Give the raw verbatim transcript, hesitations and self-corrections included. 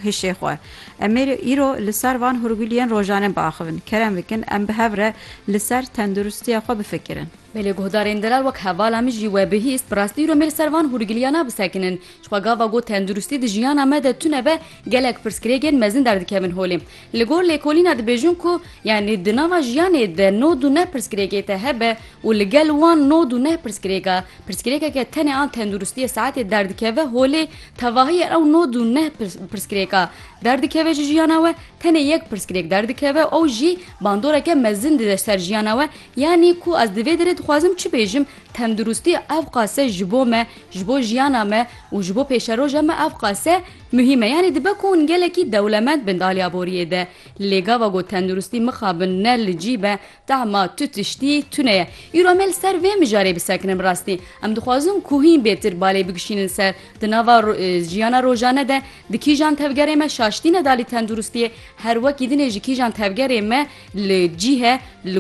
hişê xwe. Em ê îro li ser van hûrguliyên rojane biaxivin. Kerem bikin, em bi hev re li ser tenduristiya xwe bifikirin. Belê guhdarên delal, wek hevala min jî we bihîst, bi rastî îro em ê li ser van hûrgiliyana bisekinin. Ji xwe gava got tenduristî di jiyana me de tune be, gelek pirsgirêkên mezin derdikevin holê. Li gor lêkolîna dibêjin ku, yanî di nava jiyanê de nod û neh pirsgirêkê te hebe û li gel wan nod û neh pirsgirêka, pirsgirêkeke tenê an tenduristiyê saetê derdikeve holê, tevahiyê ew nod û neh pirs-, pirsgirêka derdikeve ji jiyana we, tenê yek pirsgirêk derdikeve, ew jî bandoreke mezin dide ser jiyana we. Yanî ku ez di vê derê dixwazim çi bêjim, tenduristî ev qase ji bo me, ji bo jiyana me û ji bo pêşeroja me ev qase muhîm e. Yanî dibe ku hûn gelekî dewlemend bin di aliya boriyê de. Lê gava got tenduristî mixabin ne li cî be, tahma tu tiştî tune ye. Îro em ê li ser vê mijarê bisekinin bi rastî. Em dixwazin ku hîn bêtir balê bigişînin ser di nava ro-, e, jiyana rojane de di kîjan tevgerê me şaş tîne dalî tenduristiyê, her wekî dinê ji kîjan tevgerê me li cî he, li